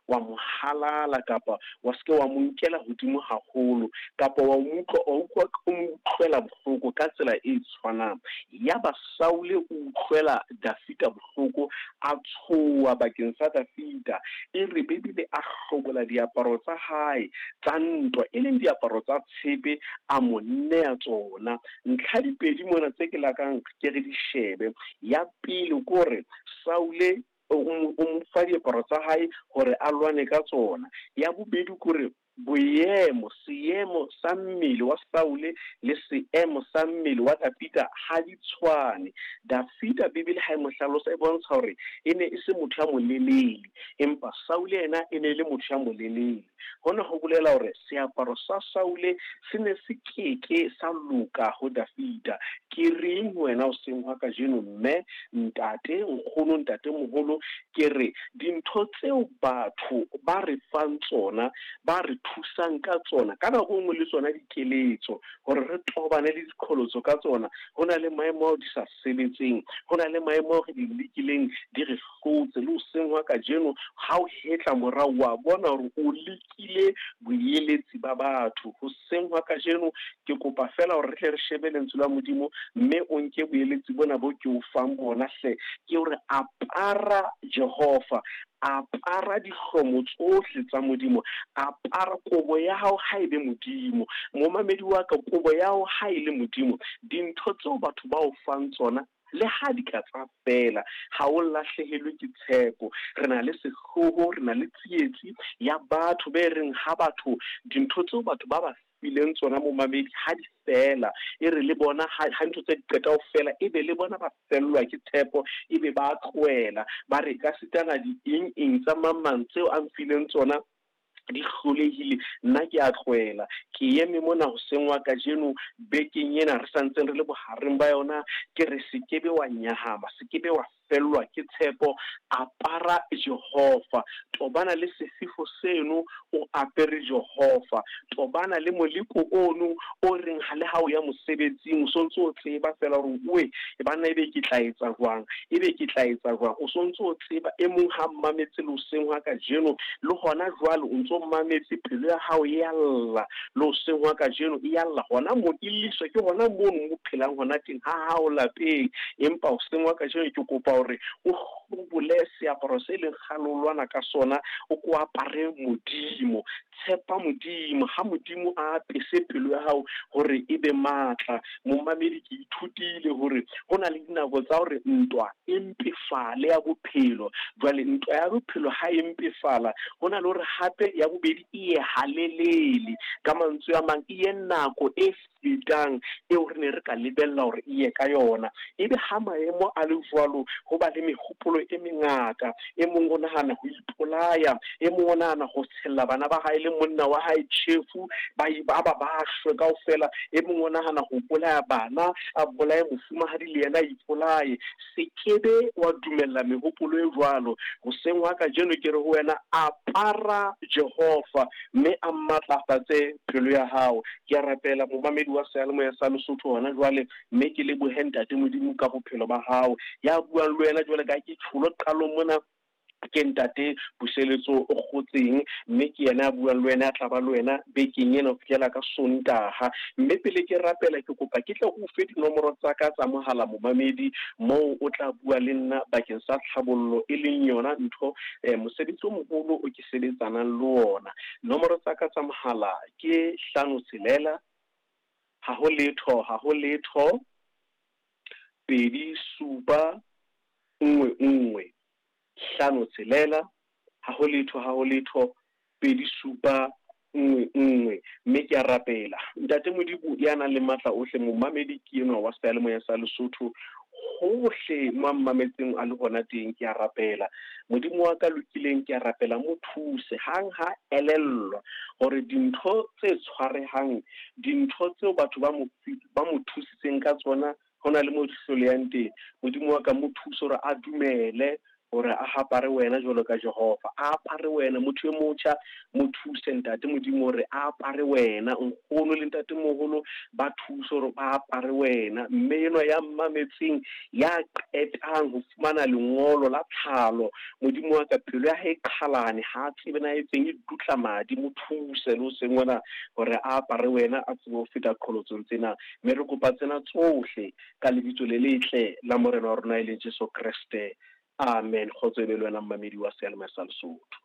wa mo halala kapa wa se ke wa mo nkela hodimo haholo kapa wa mo utlwa wa utlwa o mo utlwela bohloko ka tsela e tshwanang. Yaba Saule o utlwela Dafida bohloko, a tshoha bakeng sa Dafida. E re Bibele a hlobola diaparo tsa hae tsa ntwa, e leng diaparo tsa tshepe, a mo nea tsona. Ntlha di pedi mona tse ke lakang ke re di shebe. Ya pele ke hore Saule o mo fa diaparo tsa hae hore a lwane ka tsona. Ya bobedi ke hore boemo, seemo sa mmele wa Saule le seemo sa mmele wa Dafida ha di tshwane. Dafida Bibele ha e mo hlalosa e bontsha hore e ne e se motho ya molelele, empa Saule yena e ne e le motho ya molelele. Hona ho bolela hore seaparo sa Saule se ne se keke sa loka ho Dafida. Ke reng ho wena hoseng hwa kajeno, mme, ntate, nkgono, ntatemoholo? Ke re dintho tseo batho ba re fang tsona, ba re thusang ka tsona, ka nako e nngwe le tsona dikeletso hore re tobane le diqholotso ka tsona, ho na le maemo ao di sa sebetseng, ho na le maemo ao re di lekileng di re hlotse. Le hoseng hwa kajeno ha o hetla morao wa bona hore o lekile boeletsi ba batho. Hoseng hwa kajeno ke kopa feela hore re tle re shebe lentswe la Modimo, mme o nke boeletsi bona bo ke o fang bona hle, ke hore apara Jehova, apara dihlomo tsohle tsa Modimo, apara kobo ya hao ha e be Modimo. Momamedi wa ka, kobo ya hao ha e le Modimo, dintho tseo batho ba o fang tsona le ha di ka tsa fela, ha o lahlehelwe ke tshepo. Re na le sehloho, re na le tsietsi ya batho be reng ha batho dintho tseo batho ba ba fileng tsona momamedi ha di fela, e re le bona ha ntho tse di qeta ho fela, e be le bona ba fellwa ke tshepo, e be ba tlohela, ba re ka sitana di eng eng tsa mang mang tseo a mfileng tsona di hlolehile, nna ke a tlohela. Ke eme mona hoseng wa kajeno bekeng ena re santseng re le bohareng ba yona, ke re se kebe wa nyahama, se kebe wa fellwa ke tshepo. Apara Jehova, tobana le sefefo seno o apere Jehova, tobana le moleko ono o reng ha le ha o ya mosebetsing o sontso o tseba fela hore oe banna ebe ke tla etsa jwang, ebe ke tla etsa jwang, o sontso o tseba. E mong ha mmametse le hoseng hwa kajeno, le hona jwale o ntso mmametse, pelo ya hao e a lla le hoseng hwa kajeno, e a lla hona moo, e lliswa ke hona mono mo phelang hona teng ha hao lapeng. Empa hoseng hwa kajeno ke kopa hore o hlobole seaparo se leng kgale o lwana ka sona, o ko apare Modimo. Tshepa Modimo, ha Modimo a apese pelo ya hao hore e be matla. Momamedi, ke ithutile hore ho na le dinako tsa hore ntwa e mpefale ya bophelo. Jwale ntwa ya bophelo ha e mpefala, ho na le hore hape ya bobedi e ye halelele. Ka mantswe a mang, e ye nako e fetang eo re ne re ka lebella hore e ye ka yona. Ebe ha maemo a le jwalo, ho ba le mehopolo e mengata. E mong o nahana ho ipolaya, e mong o nahana ho tshella bana ba hae le monna wa hae tjhefu, ba ba ba shwe kaofela. E mong o nahana ho bolaya bana, a bolaye mofumahadi le yena a ipolaye. Se kebe wa dumella mehopolo e jwalo. Hoseng hwa kajeno ke re ho wena, apara Jehova mme a matlafatse pelo ya hao. Ke a rapela momamedi wa seyalemoya sa Lesotho hona jwale, mme ke lebohe Ntate Modimo ka bophelo ba hao. Ya buang le wena jwale ka ke tjholo qalong mona, ke Ntate Puseletso o Kgotseng, mme ke yena a buang le wena, a tla ba le wena bekeng ena ho fihlela ka Sontaha. Mme pele ke rapela, ke kopa ke tle o fe dinomoro tsa ka tsa mohala momamedi, moo o tla bua le nna bakeng sa tlhabollo, e leng yona ntho mosebetsi o moholo o ke sebetsanang le ona. Nomoro tsa ka tsa mohala ke 5 6 0 0 0 2 7 1 1. 5 6 0 0 0 2 7 1 1. Mme ke a rapela Ntate Modimo ya nang le matla ohle, momamedi ke enwa wa seyalemoya sa Lesotho, hohle mo a mmametseng a le hona teng, ke a rapela Modimo wa ka lokileng, ke a rapela mo thuse hang ha elellwa hore dintho tse tshwarehang, dintho tseo batho ba mo thusitseng ka tsona, ho na le mo di hlolehang teng. Modimo wa ka mo thuse hore a dumele Hore a hapare wena jwalo ka Jehova, a apare wena. Motho e motjha, mo thuse, Ntate Modimo, hore a apare wena. Nkgono le ntatemoholo ba thuse hore ba apare wena. Mme enwa ya mmametseng, ya qetang ho fumana lengolo la tlhalo, Modimo wa ka, pelo ya hae e qhalane, ha a tsebe na etseng, e dutla madi. Mo thuse le hoseng hona hore a apare wena, a tsebe ho feta qholotsong tsena. Mme re kopa tsena tsohle ka Lebitso le letle la Morena wa rona e leng Jesu Kreste. Amen. Kgotso e be le wena mmamedi wa Seyalemoya sa Lesotho.